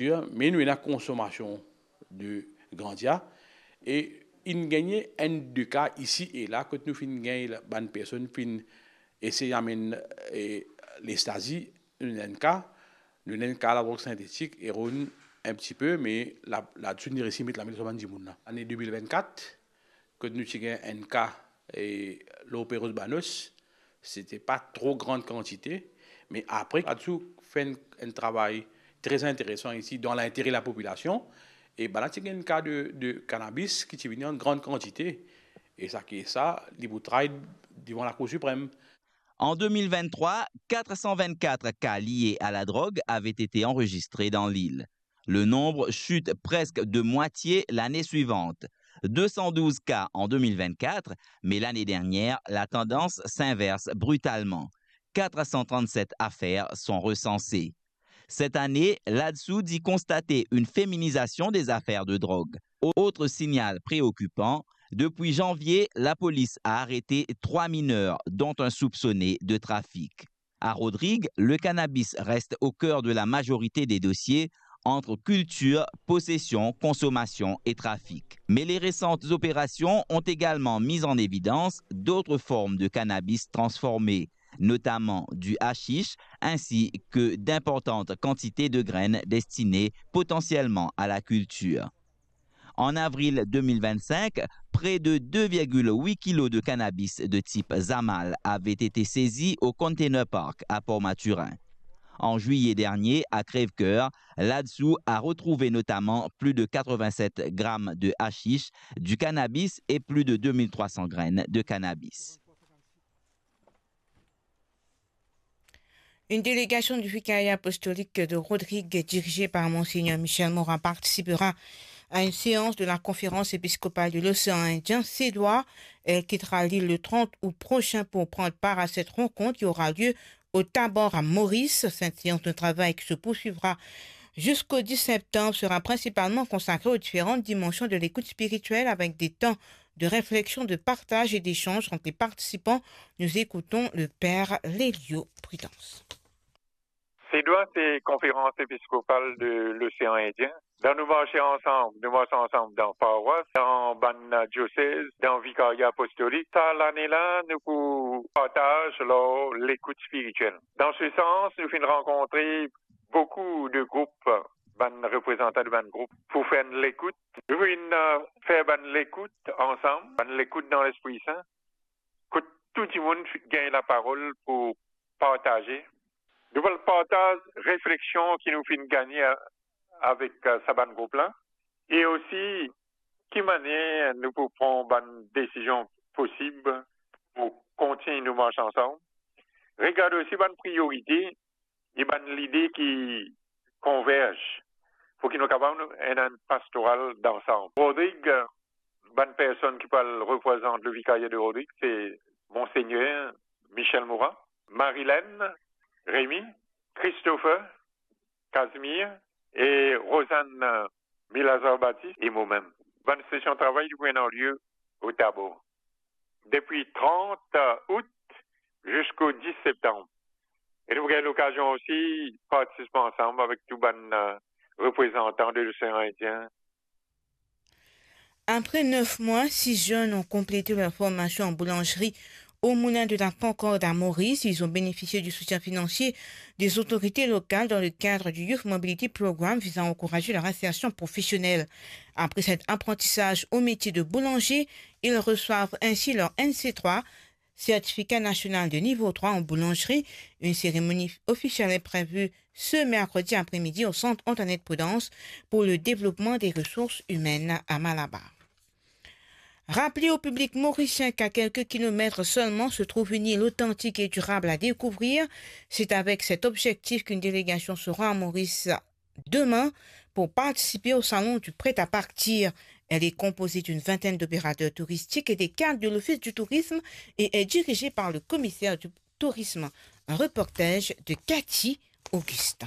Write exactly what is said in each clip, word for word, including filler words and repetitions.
Me nou ena konsomasion de Grandia, e inn gagne enn de ka isi e la, kot nou finn gagn la, bann personn finn esey amenn, e, lestazi, nou ena enn ka, nou ena enn ka ladrog sintetik, eron enn ti pe, me la, ladan nou resi met lame lor sa bann dimoun la. Lane de mil vennkat, kot nou ti gagn enn ka, e, lor Perros Banhos, se ti pa tro gran kantite, me apre, Adsou fer enn, enn travay tre interesan isi, dan lintere lapopilasion, e bann la ti gagn enn ka de, de kanabis ki ti vini an gran kantite, e sa ki sa, li pou tray devan Lakour Siprem. En deux mille vingt-trois, quatre cent vingt-quatre cas liés à la drogue avaient été enregistrés dans l'île. Le nombre chute presque de moitié l'année suivante. deux cent douze cas en deux mille vingt-quatre, mais l'année dernière, la tendance s'inverse brutalement. quatre cent trente-sept affaires sont recensées. Cette année, Adsou dit constater une féminisation des affaires de drogue. Autre signal préoccupant, depuis janvier, la police a arrêté trois mineurs, dont un soupçonné de trafic. À Rodrigues, le cannabis reste au cœur de la majorité des dossiers entre culture, possession, consommation et trafic. Mais les récentes opérations ont également mis en évidence d'autres formes de cannabis transformé, notamment du hashish, ainsi que d'importantes quantités de graines destinées potentiellement à la culture. En avril deux mille vingt-cinq, près de deux virgule huit kilos de cannabis de type Zamal avaient été saisis au Container Park à Port-Mathurin. En juillet dernier, à Crèvecoeur, l'Adsou a retrouvé notamment plus de quatre-vingt-sept grammes de hashish, du cannabis et plus de deux mille trois cents graines de cannabis. Une délégation du Vicariat apostolique de Rodrigues, dirigée par Monseigneur Michel Morin, participera à une séance de la conférence épiscopale de l'océan Indien, Cédois. Elle quittera l'île le trente août prochain pour prendre part à cette rencontre qui aura lieu au Tabor à Maurice. Cette séance de travail qui se poursuivra jusqu'au dix septembre sera principalement consacrée aux différentes dimensions de l'écoute spirituelle, avec des temps de réflexion, de partage et d'échange entre les participants. Nous écoutons le père Lelio Prudence. Cédois, se Konferans Episkopal de Losean Indien. Dan nou marse ansam, nou mars ansam dan parwas, dan bann diosez, dan vikaria apostolik. Sa lane la, nou pou partaz lor lekout spiritiel. Dan se sans, nou finn rankontre boukou de group, bann reprezantan de bann group, pou fer enn lekout. Nou finn, eh, fer bann lekout ansam, bann lekout dan Lespri Sin, kot tou dimoun fi-, gagn laparol pou partaze. Nou pou partaz refleksion ki nou finn gagne a-, avek, eh, sa bann group la, e osi ki manier nou pou pran bann desizion posib pou kontign nou mars ansam. Regard osi bann priorite e bann lide ki konverz pou ki nou kapav nou ena enn pastoral dansant. Rodrig, bann personn ki pou al reprezant le vikaria de Rodrig, se Monseigneur Michel Morin, Marilène, Rémy, Christopher, Casimir e Rosanne Milazar Baptiste e momem. Bann sesion travay li pou ena lie o Tabor, depi trant out ziska dis septam. E nou pou gagn lokazion osi partisip ansam avek tou bann, eh, reprezantan de Losean Indien. Après neuf mois, six jeunes ont complété leur formation en boulangerie au Moulin de la Concorde à Maurice. Ils ont bénéficié du soutien financier des autorités locales dans le cadre du Youth Mobility Programme visant à encourager leur insertion professionnelle. Après cet apprentissage au métier de boulanger, ils reçoivent ainsi leur N C trois, certificat national de niveau trois en boulangerie. Une cérémonie officielle est prévue ce mercredi après-midi au Centre Antoinette Prudence pour le développement des ressources humaines à Malabar. Rappeler au public mauricien qu'à quelques kilomètres seulement se trouve une île authentique et durable à découvrir. C'est avec cet objectif qu'une délégation sera à Maurice demain pour participer au salon du prêt-à-partir. Elle est composée d'une vingtaine d'opérateurs touristiques et des cadres de l'Office du tourisme et est dirigée par le commissaire du tourisme. Un reportage de Cathy Augustin.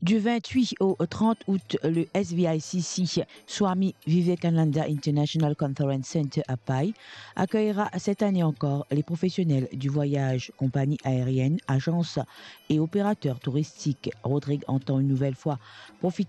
Du vingt-huit au trente août, le S V I C C Swami Vivekananda International Conference Center à Pai accueillera cette année encore les professionnels du voyage, compagnies aériennes, agences et opérateurs touristiques. Rodrigue entend une nouvelle fois profiter